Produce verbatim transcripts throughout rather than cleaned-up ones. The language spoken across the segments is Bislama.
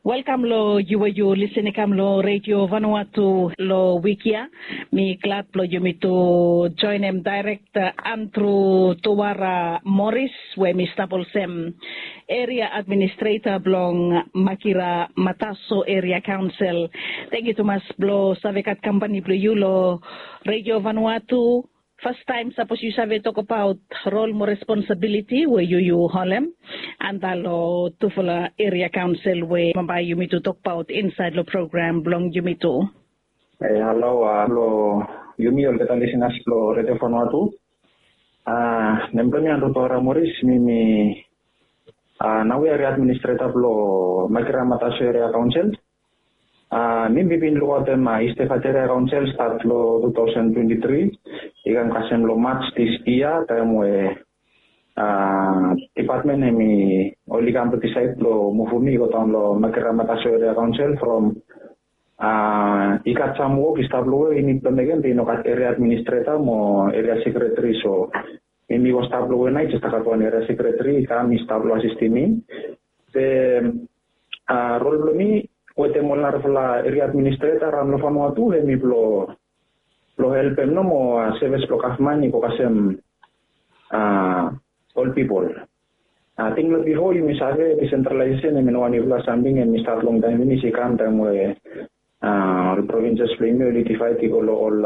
Welkam long yu we yu lisin i kam long redio vanua tu long wik ya. Mi glad blong yumi tu joinim dairek Andru Tuara Moris we mi stap olsem eria administreta blong Makira Mataso Eria Kaonsel. Tangkiu tumas blong save gat kampani blong yu long redio vanua tu. Fastaem sapos yu save tokabaot rol mo responsabiliti we yu yu holem anda long tufala eria kaonsel we bambae yumi tu tokbaot insaed long program blong yumi tu. E halo, long yumi olgeta lisinas blong redio vanua tu. Nem blong mi Andru Tuara Moris, mi mi nao eria administreta blong Makira Mataso Eria Kaonsel. Mi mi bin lukaotem East Efate Eria Kaonsel stat long two thousand twenty three i kam kasem long March this year, taem we dipatmen hemi oli kam blong disaed blong muvum mi i go daon long Makira Mataso Eria Kaonsel from i gat sam wok i stap long we i nid blong mekem be i no gat eria administreta mo eria sekreteri. So mi mi go stap long we nao i jes i gat wan eria sekreteri i kam i stap long asistim mi. Be rol blong mi wetem ol narafala eria administreta raon long fanua tu hemi blong blong helpem nomo sevis blong gavman i go kasem ol pipol. Ating long bifo yumi save disentralaesesen hemi no wan niufala samting, hemi stat longtaem finis i kam taem we ol provinses blong yumi oli divaed i go long ol,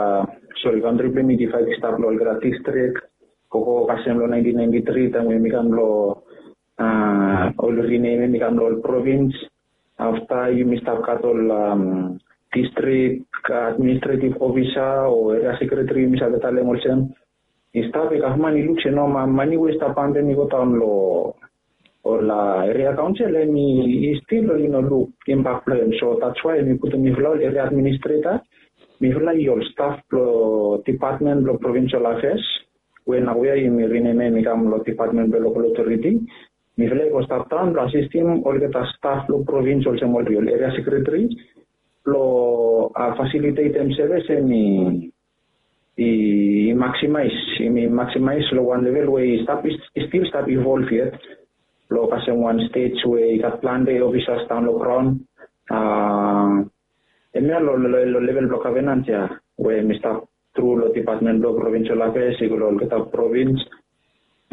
sori, kantri blong yumi i divaed i stap long olgeta distrik. Gogo kasem long nineteen ninety three taem we yumi kam long ol rinemem i kam long ol provins. Afta yumi stap gat ol distrik administretiv ofisa o eria sekreteri yumi save talem olsem. I stap i gavman i luk se no mani we i stap pampem i go daon long ol eria kaonsel hemi stil oli no luk imbak blong hem. So that's why hemi putum mifala ol eria administreta, mifala i ol staf blong dipatmen blong provinsel afeas we naoia yumi rinemem i kam long dipatmen blong lokal otoriti. Mifala i go stap daon blong asistim olgeta staf blong provins olsem ol eria sekreteri blong fasilitetem sevis hemi i maksimaes, i maksimaes long wan level we i stap, i stil stap ivolv yet. Long kasem wan stej we i gat plante ofisas daon long graon. Hemia long level blong gavenans ya we mi stap tru long dipatmen blong provinsel afeas i go long olgeta provins.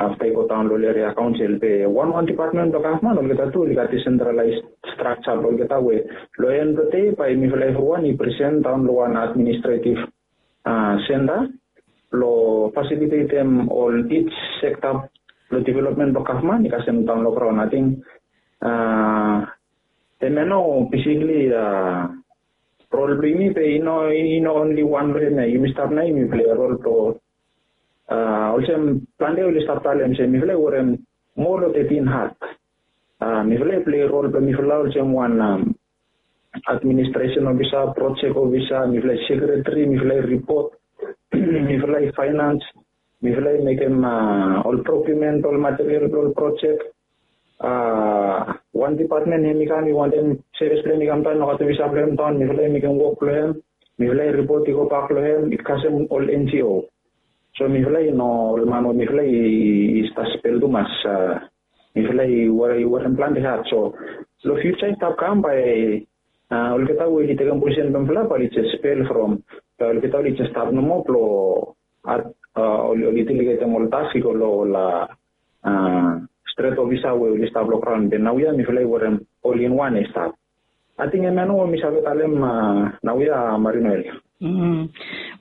Afta i go daon long ol eria kaonsel be wanwan dipatmen blong gavman olgeta tu oli gat disentralaes strakja blong olgeta we long en blong dei bae mifala evriwan i presen daon long wan administretiv senta blong fasilitetem ol ij sekta blong developmen blong gavman i kasem daon long graon. Ating hemia nao besikli rol blong yumi be i no, i no onli wan long hemia. Yumi stap nao yumi pilai rol blong olsem plante oli stap talem se mifala i werem moa long tetin hat. Mifala i pilai rol blong mifala olsem wan administresen ofisa, projek ofisa, mifala i sekreteri, mifala i ripot, mifala i faenans, mifala i mekem ol prokiumen blong ol material blong ol projek. Wan dipatmen hemi kam i wantem sevis blong hem i kam daon, nogat ofisa blong hem daon, mifala i mekem wok blong hem, mifala i ripot i gobak long hem i kasem ol NGO. So mifala i no ol man we mifala i stap spel tumas. Mifala i werem plante hat. So long fiuja i stap kam bae olgeta we oli tekem posisen blong mifala bae oli jes spel from, bae olgeta oli jes stap nomo blong oli delegetem ol task i go long ol stret ofisa we oli stap long graon. Be naoia mifala i werem ol in wan i stap. Ating hemia nao we mi save talem naoia, Marinuel.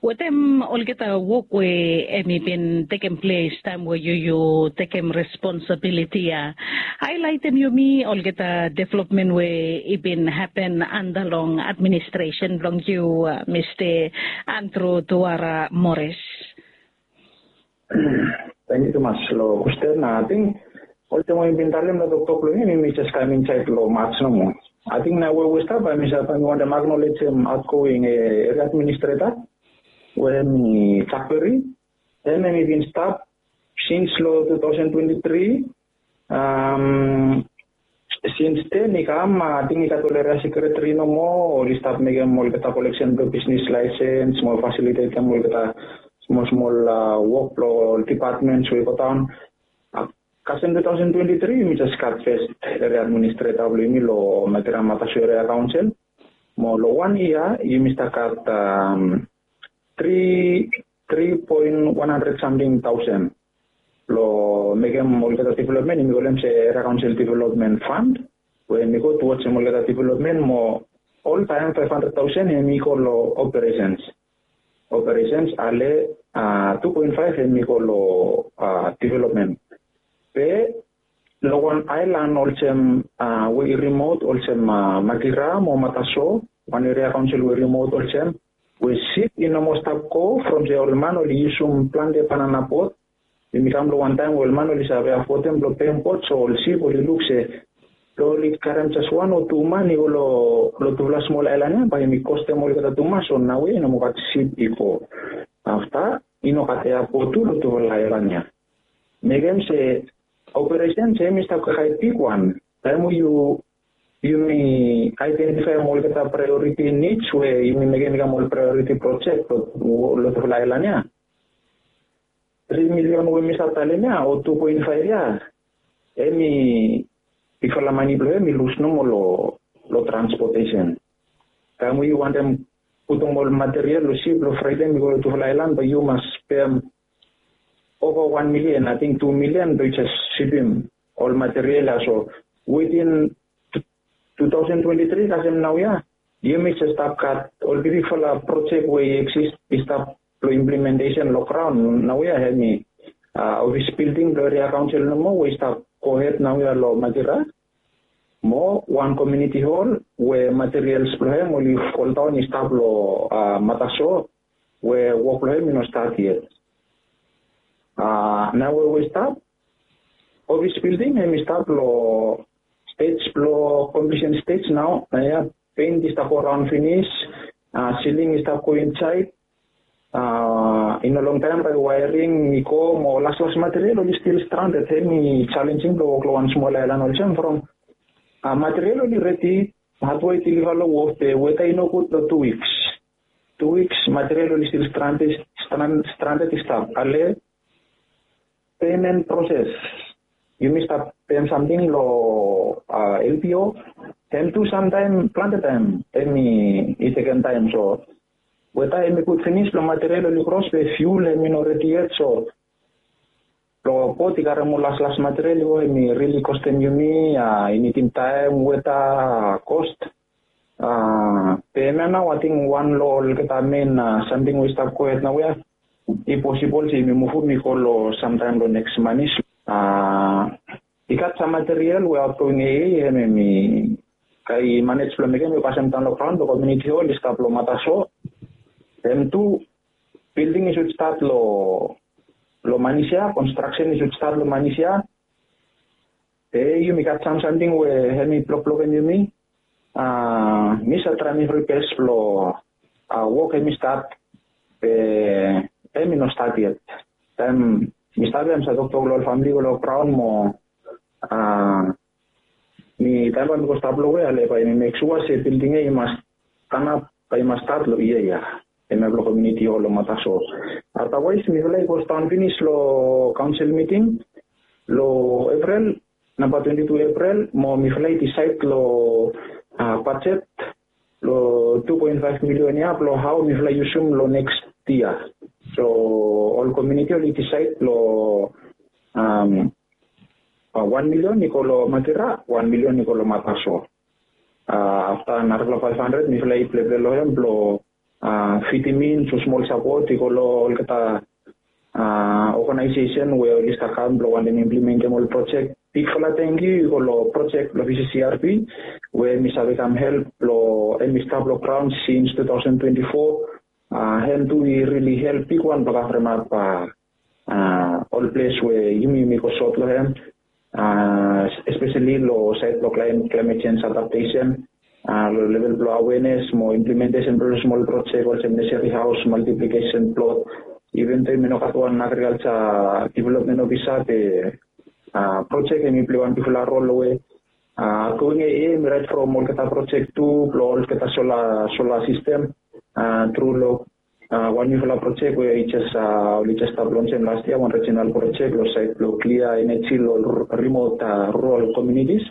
Wetem olgeta wok we hemi bin tekem ples taem we yu yu tekem responsabiliti ya, haelaetem yumi olgeta developmen we i bin hapen anda long administresen blong yu, Mista Andru Tuara Moris. Tangkiu tumas long kwesten. Ating olsem we mi bin talem long toktok blong mi, mi jes kam insaed long March nomo. Ating nao we we stap bae mi save, bae mi wantem aknolejem aotgoing eria administreta we hemi Jakberi. Hemi bin stap sins long two thousand twenty three. Sins den i kam, ating i gat ol eria sekreteri nomo oli stap mekem olgeta koleksen blong bisnis laesens mo fasilitetem olgeta smol smol wok blong ol dipatmens we i godaon. Kasem two thousand twenty three yumi jes gat fes eria administreta blong yumi long Makira Mataso Eria Kaonsel. Mo long wan yia yumi stap gat tri tri poen wan handred samting taosen long mekem olgeta developmen, yumi kolem se Eria Kaonsel Developmen Fand, we hemi go tuwod sem olgeta developmen. Mo oltaem faef handred taosen hemi go long operesens. Operesens ale tu poen faef hemi go long developmen. Be long wan aelan olsem we i rimot olsem Makira mo Mataso, wan eria kaonsel we i rimot olsem, we sip i no moa stap go from se ol man oli yusum plante banana bot. Yumi kam long wan taem we ol man oli save afodem blong pem bot, so ol sip oli luk se blong oli karem jes wan o tu man i go long tufala smol aelan ya bae yumi kostem olgeta tumas. So naoia i no moa gat sip i go. Afta i no gat eapot tu long tufala aelan ya. Mekem se operesen se hemi stap kakae bigwan taem we yu yumi aedentifaem olgeta praeoriti nids we yumi mekem i kam ol praeoriti projek long tufala aelan ya. Tri milion we mi stap talem ya o tu poen faef ya, hemi bigfala mane blong hem i lus nomo long transpotesen. Taem we yu wantem putum ol materiel long sip long fredem i go long tufala aelan bae yu mas pem ova wan milion, ating tu milion blong jes sipim ol materiel ya. So witin tu taosen twenti tri kasem naoia yumi jes stap gat ol bigfala projek we i eksis i stap long implementesen long graon naoia. Hemi ofis bilding blong eria kaonsel nomo we i stap gohed naoia long Makira, mo wan komiuniti hol we materiels blong hem oli foldaon i stap long Mataso, we wok blong hem i no stat yet. Nao we we i stap ofis bilding hem i stap long stej blong komplisen stej nao. Naoia pent i stap go raon finis, siling i stap go insaed. I no longtaem bae waering i go mo laslas materiel oli stil stranded. Hemi jalenjing blong wok long wan smol aelan olsem from materiel oli redi, hatwe i diliva long wof be weta i nogud long tu wiks. Tu wiks materiel oli stil stranded i stap. Ale pemen proses, yumi stap pem samting long lpo, hem tu samtaem plante taem hemi tekem taem. So weta hemi gud finis blong materiel oli kros be fiul hemi no redi yet. So blong bot i karem ol laslas materiel i go hemi rili kostem yumi. I nidim taem, weta, kost. Be hemia nao ating wan long olgeta men samting we i stap gohed naoia. I posibol se yumi muvum i go long samtaem long neks manis. I gat sam materiel we aotgoing ea hem hemi kae i manej blong mekem i pasem daon long graon blong komiuniti hol i stap long Mataso. Hem tu bilding i sud stat long long manis ya, konstraksen i sud stat long manis ya. Be yumi gat sam samting we hemi blokblokem yumi. Mi save traem evri bes blong wok hemi stat, be hemi no stat yet. Taem mi stap ya mi save toktok long ol famili go long graon mo mi taem bae mi go stap long we ale bae mi mek sua se bilding ya i mas tanap bae i mas stat long yia ya. Hemia blong komiuniti hol long Mataso. Atawaes mifala i go sidaon finis long kaonsel miting long Epril, namba twenti tu Epril, mo mifala i disaed long bajet long tu poen faef milion ya blong hao mifala i yusum long neks yia. So ol komiuniti oli disaed long wan milion i go long Makira, wan milion i go long Mataso. Afta narafala faef handred mifala i pleple long hem blong fidim in so smol sapot i go long olgeta oganaesesen we oli stap kam blong wantem implementem ol projek. Bigfala tangkiu i go long projek blong V C C R P we mi save kam help blong hem i stap long graon sins tu taosen twenti fo. Hem tu i rili help bigwan blong kavremap ol ples we yumi yumi go sot long hem, espeseli long saed blong klaemet jenj adaptesen, long level blong awenes mo implementesen blong smol projek olsem neseri haos, maltiplikesen plot. Iven do yumi no gat wan agrikalja developmen ofisa be projek hemi pilai wan bigfala rol long we autgoing ea hemi raet from olgeta projek tu blong olgeta sola sola sistem tru long wan nifala projek we i jes oli jes stap lonsem last yia, wan regional projek long sait blong klia eneji long remote rural communities.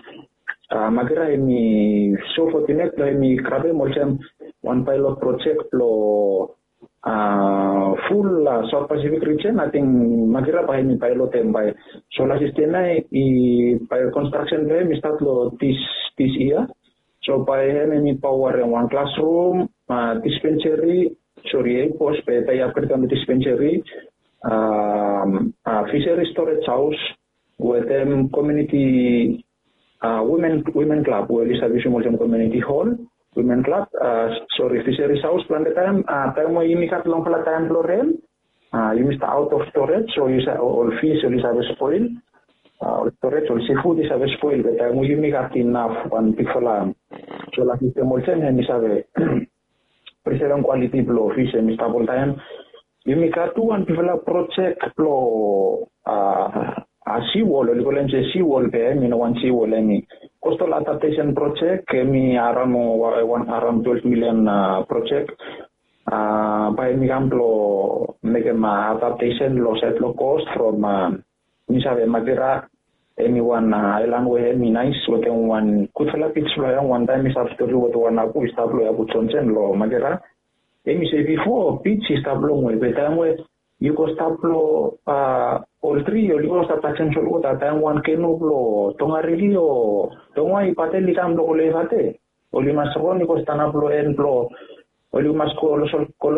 Makira hemi so fortunate blong hemi grabem olsem wan pilot projek blong ful South Pacific region. Ating Makira bae hemi pilot hem bae solar system ia i bae construction blong hem i start long this this year. So bae hem hemi power hem wan classroom, dispensary, sorry, ei pos be bae i upgrade kam long dispensary, fishery storage house, wetem community women women club we oli save yusum olsem community hall, women club, sorry, fisheries house. Plante taem taem we yumi gat longfala taem blong ren, yumi stap out of storage, so yu sa ol fish oli save spoil, ol storage, ol seafood i save spoil. Be taem we yumi gat inaf wan bigfala solar system olsem, hemi save preservem quality blong fish hemi stap oltaem. Yumi gat tu wan bigfala projek blong a seawall, oli kolem se seawall be hemi no wan seawall, hemi coastal adaptation projek, hemi around wan around twelve million projek. Bae hemi kam blong mekem adaptation long sait long coast from mi save Makira, hemi wan aelan we hemi naes wetem wan gudfala beach blong hem. Wantaem mi save stori wetem wan abu i stap long Abu Johnson long Makira. Hemi se bifo beach i stap longwe, be taem we yu go stap long ol tri, oli go stap tajem solwota, taem wan kenu blong Tongariki o Tongwai Patel i kam blong go long Efate, oli mas ron i go stanap long en blong, oli mas go long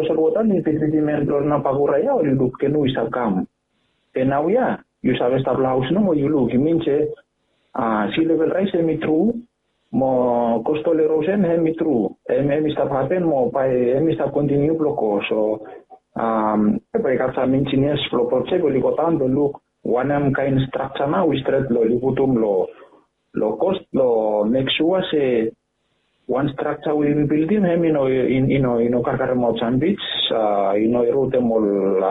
solwota, oli bitbitim en blong nao bakura ia oli luk kenu i stap kam. Be naoia yu save stap long haos nomo, yu luk, i min se sea level rise hemi tru, mo coastal erosion hemi tru, hemi hemi stap hapen mo bae hemi stap kontiniu blong go. So bae i gat sam engineers blong projek oli go daon blong luk wanem kaen structure nao i stret blong oli putum long long coast blong mek sua se wan structure we yumi bildim hemi no i no i no karkaremaot sam beach, i no erodem ol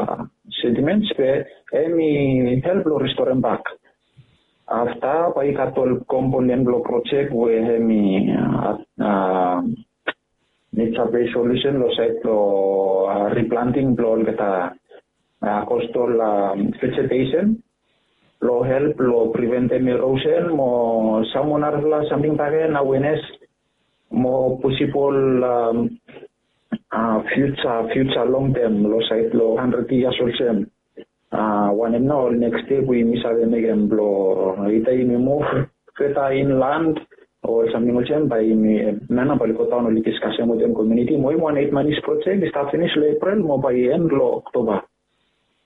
sediments, be hemi help long restorem bak. Afta bae i gat ol komponen blong projek we hemi nature based solution long sait blong replanting blong olgeta coastal vegetation blong help long preventem erosion mo sam wan narafala samting bakegen, awareness mo possible future future long term long sait long hundred years olsem. Wanem nao ol next step we yumi save mekem blong ita yumi move further inland o samting olsem, bae yumi, hemia nao bae oli go daon oli diskasem wetem community mo hemi wan eight months project i stap finis long April mo bae i en long October.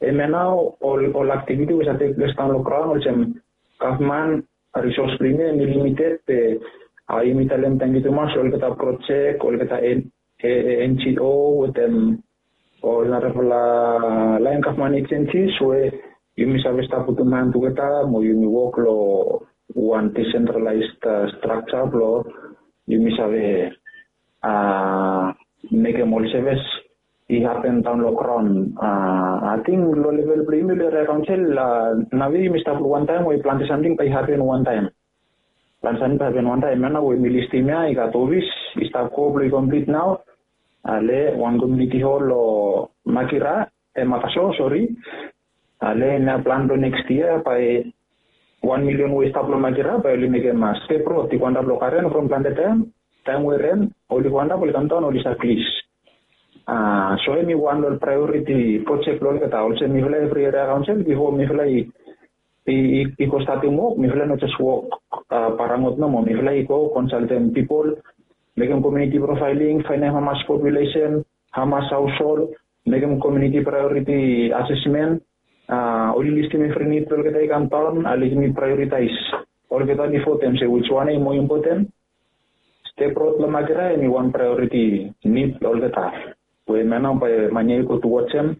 Hemia nao ol ol activity we save tek ples daon long graon olsem gavman resource blong yumi hemi limited, be yumi talem tangkiu tumas long olgeta project, olgeta NGO wetem ol narafala laen gavman agencies we yumi save stap putum han tugeta mo yumi wok long wan decentralized structure blong yumi save mekem ol sevis i hapen daon long graon. Ating long level blong yumi long eria kaonsel, nao we yumi stap long wantaem we plante samting bae i hapen wantaem. Plante samting bae i hapen wantaem. Hemia nao we mi listim ia i gat ofis i stap go blong i komplit nao. Ale wan community hall long Makira, e Makaso, sori. Ale hemia plan blong next year bae wan milion we i stap long Makira bae oli mekem step road i go antap long karen from plante taem. Taem we ren oli go antap oli kamdaon oli save glis. So hemi wan long ol priority project blong olgeta olsem mifala evri eria kaonsel bifo mifala i i go statem wok mifala no jes wok parangot nomo, mifala i go konsaltem pipol, mekem community profiling, faenem hamas populesen, hamas haoshol, mekem community priority assessment, oli listim evri nid blong olgeta i kamdaon, ale yumi prioritaes olgeta bifo dem se wiswan i moa impoten. Step rod long Makira hemi wan priority nid blong olgeta we hemia nao bae man ia i go towards hem.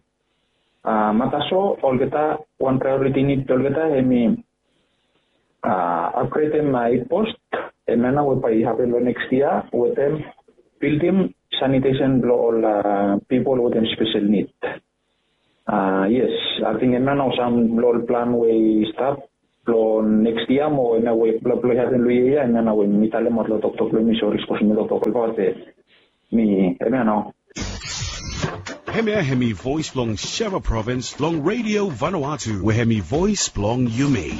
Mataso olgeta wan priority nid blong olgeta hemi upgradem eit post, hemia nao we bae i hapen long next year wetem bildim sanitation blong ol pipol wetem spesel nid. Yes, ating hemia nao sam blong ol plan we i stap blong next year mo hemia we blong i hapen long yia ia, hemia nao we mi talemaot long toktok blong mi, sori sapos mi toktok olbaot be mi hemia nao. Hemia hemi voes blong Sheva Provins long Radio Vanuatu, we hemi voes blong yumi.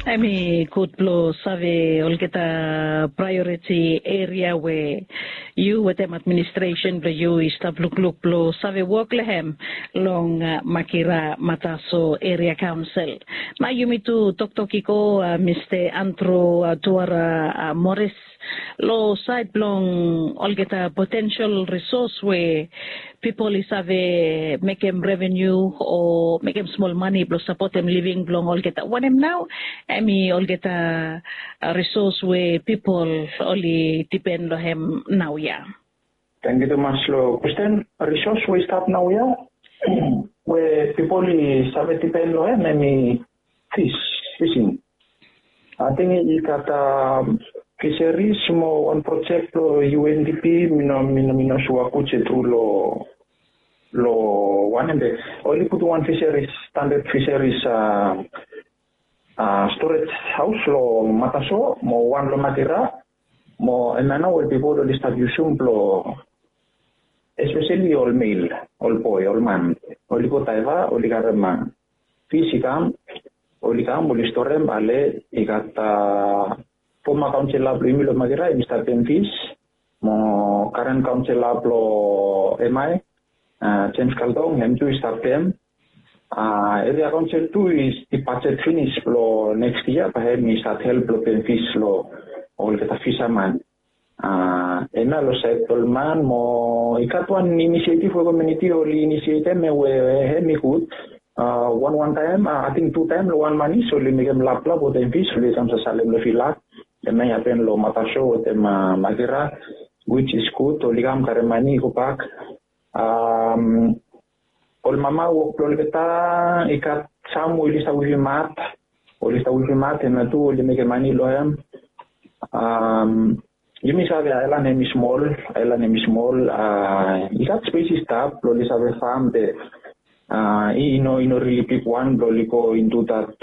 Hemi gud blong save olgeta prioriti eria we yu wetem administresen blong yu i stap lukluk blong save wok long hem long Makira Mataso Eria Kaonsel. Nao yumi tu toktok i go, Mista Andrew Tuara Moris, long saed blong olgeta potensel risos we pipol i save mekem revenu o mekem smol mane blong sapotem living blong olgeta, wanem nao hemi olgeta risos we pipol oli dipen long hem naoia? Tangkiu tumas long kwesten. Risos we i stap naoia we pipol i save dipen long hem hemi fis, fising. Ating i gat fiseris mo wan projek blong U N D P, mi no mi no mi no sua gud se tru long long wanem be oli putum wan fiseris, standad fiseris a storage haos long Mataso mo wan long Makira. Mo hemia nao ol pipol oli stap yusum blong, espeseli ol mel, ol boe, ol man, oli go daeva, oli karem fis i kam, oli kam oli storem. Ale i gat foma kaonsela blong yumi long Makira hemi stap pem fis, mo karen kaonsela blong Emai, Jems Kaldong, hem tu i stap pem. Eria kaonsel tu i bajet finis blong neks yia bae hem i stat help blong pem fis long olgeta fisaman. Hemia long saed blong ol man mo i gat wan inisietiv we komiuniti oli inisietem we hem i gud. Wan wan taem, ating tu taem long wan manis oli mekem laplap wetem fis oli kam sasalem long vila. Hemia i hapen long Mataso wetem Makira, wits i gud, oli kam karem mane i gobak. Ol mama wok blong olgeta, i gat sam we oli stap wivim mat, oli stap wivim mat, hemia tu oli mekem mane long hem. Yumi save aelan hemi smol, aelan hemi smol. I gat spes i stap blong oli save fam be i no i no rili bigwan blong oli go intu dat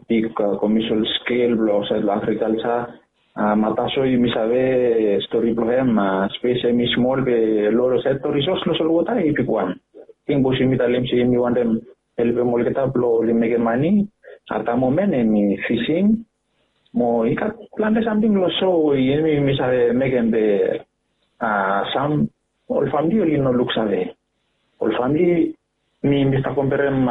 big komesel skel blong olsem long agrikalja. Mataso yumi save stori blong hem, spes hemi smol be long olsem risos long solwota i bigwan. Ting bos yumi talem se yumi wantem helpem olgeta blong oli mekem mane. At da momen hemi fising. Mo i gat plante samting long so we yumi yumi save mekem be sam ol famili oli no luksave. Ol famili, mi mi stap komperem,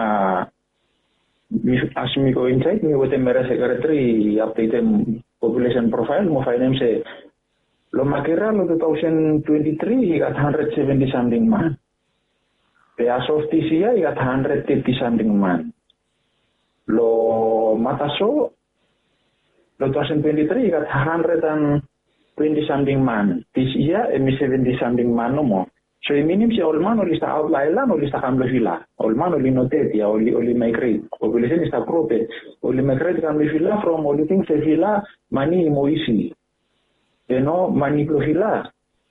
as mi go insaed mi wetem eria sekreteri i apdetem populesen profael mo faenem se long Makira long tu taosen twenti tri i gat handred seventi samting man. Be as of dis yia i gat handred teti samting man. Long Mataso long tu taosen twenti tri i gat handred an twenti samting man. Dis yia hemi seventi samting man nomo. So i minim se ol man oli stap aot long aelan oli stap kam long vila. Ol man oli no ded ia, oli oli maegret. Populesen i stap gro be oli maegret kam long vila from oli ting se vila mane i moa isi. Be no, mane blong vila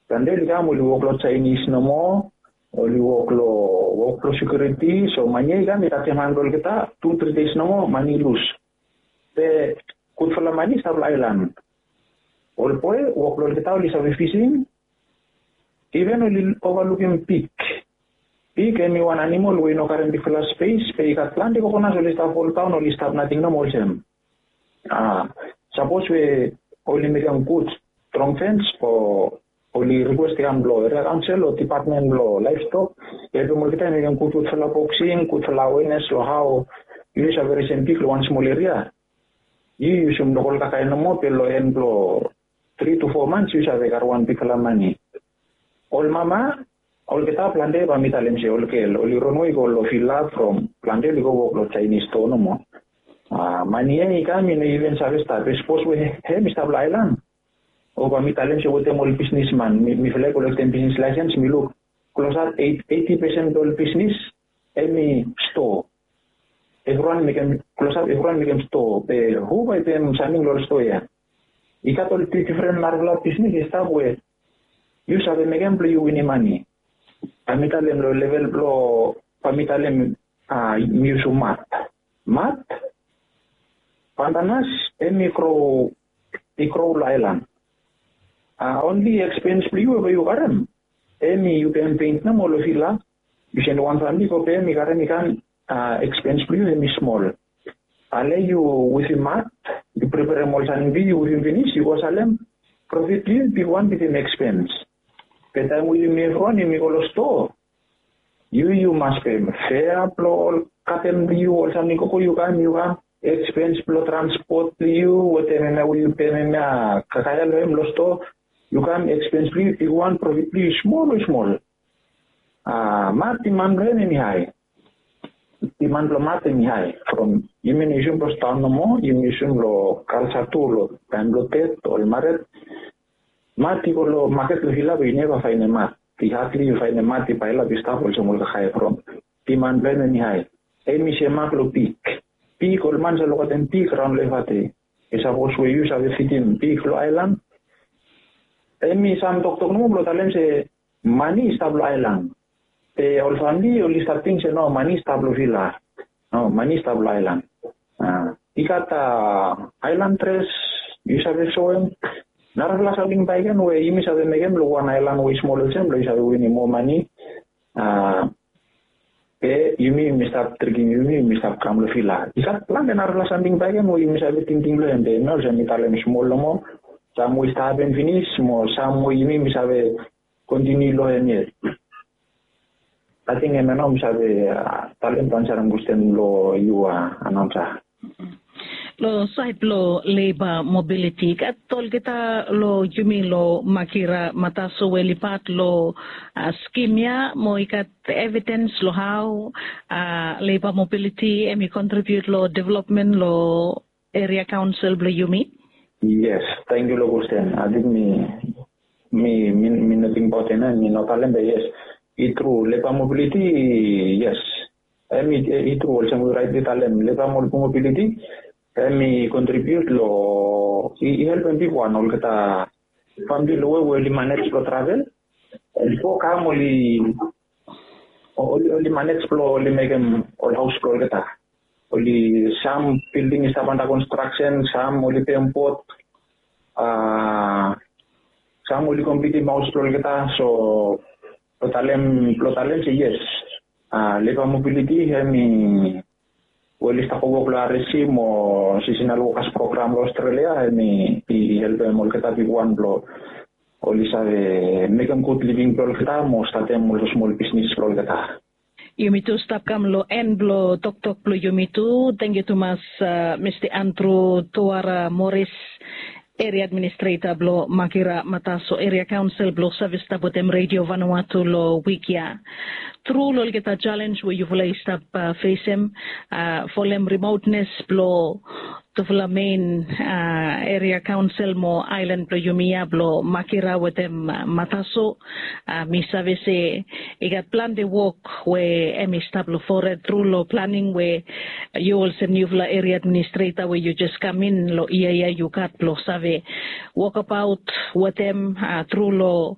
plante oli kam oli wok long Jaenis nomo. Oli wok long wok blong sekiuriti. So mane ia i kam i tajem han blong olgeta tu tri dei nomo mane i lus. Be gudfala mane i stap long aelan. Ol boe wok blong olgeta oli save fising. Iven oli ovalukim pig. Pig hemi wan animol we i no karem bigfala spes be i gat plante kokonas oli stap foldaon oli stap nating nomo olsem. Sapos we oli mekem gud strong fens o oli rikwes i kam long eria kaonsel o dipatmen blong laevstok i helpem olgeta i mekem gudgudfala boksing, gudfala awenes long hao yu save resem pig long wan smol eria. Yu yusum lokol kakae nomo be long en blong tri tu fo mans yu save gat wan bigfala mane. Ol mama olgeta plante bae mi talem se ol gel oli ronwe i go long vila from plante oli go wok long Jaenis stoa nomo. Mane ia i kam i no iven save stap be sapos we hem i stap long aelan. O bae mi talem se wetem ol bisnisman, mifala i kolektem bisnis laesens mi luk klosap eiti pesen blong ol bisnis hem i stoa. Evriwan i mekem klosap, evriwan i mekem stoa be hu bae i pem samting long ol stoa ia? I gat ol difren narafala bisnis i stap we yu save mekem blong yu winim mane. Bae mi talem long level blong bae mi talem mi yusum mat. Mat, pantanas hem i gro i gro long aelan. Onli ekspens blong yu we bae yu karem Em i yu pem pent nomo long vila, yu sende wan famili go pem, i karem i kam, ekspens blong yu em i smol. Ale yu wivim mat, yu preperem ol samting blong yu, yu wivim finis, yu go salem, profit blong yu i bigwan bitim ekspens. Be taem we yumi evriwan yumi go long stoa, yu yu mas pem fea blong ol katem blong yu, ol samting gogo yu kam, yu kam, ekspens blong transpot blong yu wetem hemia we yu pem hemia kakaea long hem long stoa, yu kam, ekspens blong yu i bigwan, profit blong yu i smol, i smol. A mat, diman blong hem hem i hae. Diman blong mat hem i hae from yumi no yusum long staon nomo, yumi yusum long kalsa tu long taem blong ded o ol mared. Mat i go long maket long vila be yu neva faenem mat. I hadli yu faenem mat i paelap i stap olsem ol kakae from diman blong hem hem i hae. Hem i semak long pig. Pig, ol man save lukaotem pig raon long evate. Be sapos we yu save fidim pig long aelan, hem i sam toktok nomo blong talem se mane i stap long aelan. Be ol famili oli stap ting se no, mane i stap long vila. No, mane i stap long aelan. I gat aelan dres, yu save soem. Narafala samting bakegen we yumi save mekem long wan aelan we i smol olsem blong yu save winim moa mane. A be yumi yumi stap trikim yumi, yumi stap kam long vila. I gat plante narafala samting bakegen we yumi save tingting long hem, be hemia olsem mi talem, smol nomo. Sam we i stap hapen finis mo sam we yumi yumi save kontiniu long hem yet. Ating hemia nao mi save talem blong ansarem kwestin blong yu, anaonsa. Long saed blong leba mobiliti, i gat olgeta long yumi long Makira Mataso we oli pat long skim ya, mo i gat evidens long hao leba mobiliti hem i kontribiut long developmen long eria kaonsel blong yumi? Yes, tangkiu long kwestin. Ating mi mi mi mi no tingbaot hemia, mi no talem, be yes, i tru, leba mobiliti, yes. Hem i tru, olsem we yu raetli talem, leba mobiliti hem i kontribiut long, i helpem bigwan olgeta famili long we we oli manej blong travel. Bifo kam oli oli manej blong oli mekem ol haos blong olgeta. Oli, sam bilding i stap anda konstraksen, sam oli pem bot, a sam oli komplitim haos blong olgeta. So blong talem, blong talem se yes, a leba mobiliti hem i, we oli stap wok long RSC mo sisinal wokas program long Australia, hem i helpem olgeta bigwan blong oli save mekem gud living blong olgeta mo statem ol smol bisnis blong olgeta. Yumi tu stap kam long en blong toktok blong yumi tu. Tangkiu tumas, Mista Andrew Tuara Morris, eria administreta blong Makira Mataso Eria Kaonsel, blong save stap wetem Redio Vanuatu long wik ya. Tru long olgeta jalenj we yufala i stap fesem, folem rimotnes blong tufala mein eria kaonsel mo aelan blong yumi ya blong Makira wetem Mataso, mi save se i gat plante wok we hem i stap long fored tru long planing we yu olsem niufala eria administreta we yu jes kam in long yia ya yu gat blong save wokabaot wetem tru long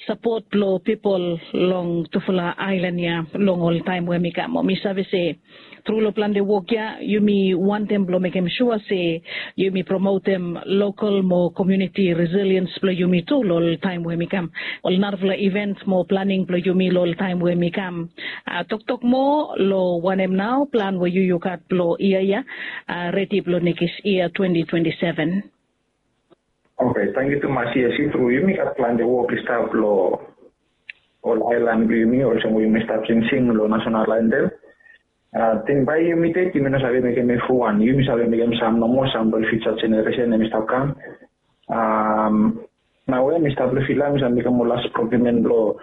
sapot blong pipol long tufala aelan ya long ol taem we hem i kam. Mo mi save se tru long plante wok ya yumi wantem blong mekem sua se yumi promotem lokal mo komuniti resiliens blong yumi tu long ol taem we hem i kam. Ol narafala iven mo planing blong yumi long ol taem we hem i kam. Toktok moa long wanem nao plan we yu yu gat blong yia ya, redi blong nekis yia twenti twenti seven. Oke, tangkiu tumas. Yes, i tru, yumi gat plante wok i stap long ol aelan blong yumi, olsem we yumi stap singsing long nasonal antem. Ating bae yumi ded yumi no save mekem evriwan, yumi save mekem sam nomo, sam blong fiuja jeneresen hem i stap kam. Nao we mi stap long vila, mi save mekem ol las prokiumen blong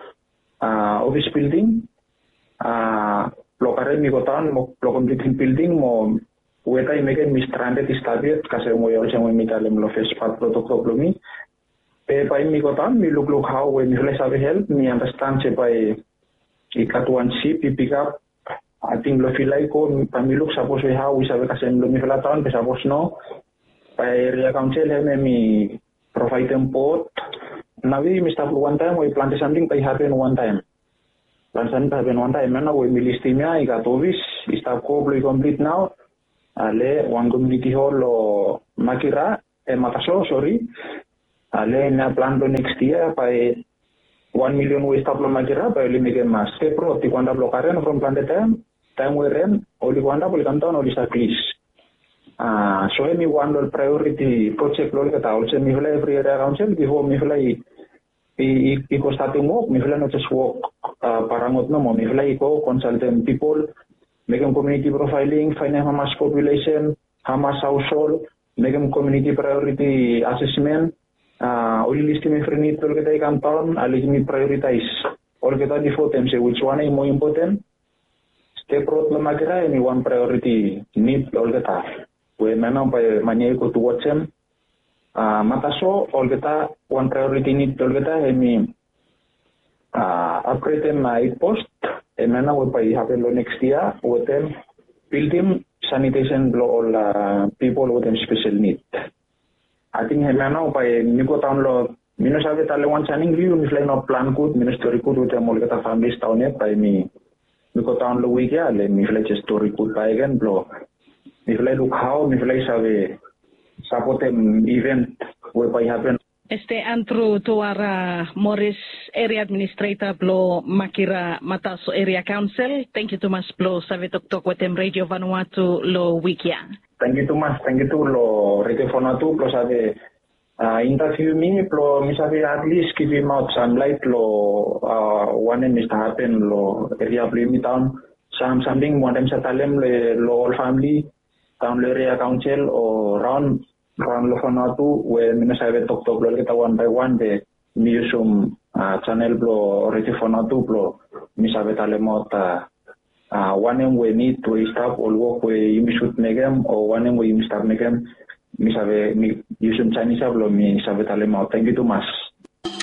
ofis bilding, blong karem i go daon mo blong komplitim bilding mo weta i mekem mi stranded i stap yet, kasem we olsem we mi talem long fes pat blong toktok blong mi. Be bae mi go daon mi lukluk hao we mifala i save help, mi anastan se bae i gat wan sip i pikap, ating long vila i go, bae mi luk sapos we hao i save kasem long mifala daon, be sapos no, bae eria kaonsel hem hem i provaedem bot. Nao we yumi stap long wantaem we plante samting bae i hapen wantaem. Plante samting bae i hapen wantaem, hemia nao we mi listim ya, i gat ofis i stap go blong i komplit nao. Ale wan komuniti hol long Makira, e, Mataso, sori. Ale hemia plan blong nekis yia bae wan milion we i stap long Makira bae oli mekem step rod i go antap long Karen from plante taem, taem we ren oli go antap oli kamdaon oli save plis. So hemi wan long ol priority projek blong olgeta olsem mifala evri eria kaonsel bifo mifala i i go statem wok, mifala no jes wok parangot nomo, mifala i go konsaltem pipol, mekem komiuniti profaeling, faenem hamas populesen, hamas haoshol, mekem komiuniti praeoriti asesmen, oli listim evri nid blong olgeta i kamdaon, oli givim praeoritaes olgeta bifo tem se wij wan ya i moa impoten. Step rod long Makira hemi wan praeoriti nid blong olgeta we hemia nao bae man ya i go tu wojem. Mataso olgeta wan praeoriti nid blong olgeta hemi apgredem eit post, hemia nao we bae i hapen long neks yia wetem bildim sanitesen blong ol pipol wetem spesel nid. Ating hemia nao bae mi go daon long, mi no save talem wan saning blong yu, mifala i no plan gud, mi no stori gud wetem olgeta familis daon ya, bae mi mi go daon long wik ya le mifala i jes stori gudbae gen blong mifala i luk hao mifala i save sapotem iven we bae i hapen. Este Andru Tuara Moris, eria administreta blong Makira Mataso Eria Kaonsel, tangkiu tumas blong save toktok wetem Redio Vanuatu long wik ya. Tangkiu tumas, tangkiu tu long Redio Vanuatu blong save intaviu mi blong mi save atlis givimaot sam laet long wanem i stap hapen long eria blong yumi daon, sam samting mi wantem save talem long ol famili daon long eria kaonsel o raon raon long Vanuatu we mi no save toktok long olgeta wan bae wan be mi yusum janel blong Redio Vanuatu blong mi save talemaot wanem we nid we i stap, ol wok we yumi sud mekem o wanem we yumi stap mekem, mi save mi yusum janis ya blong mi save talemaot. Tangkiu tumas.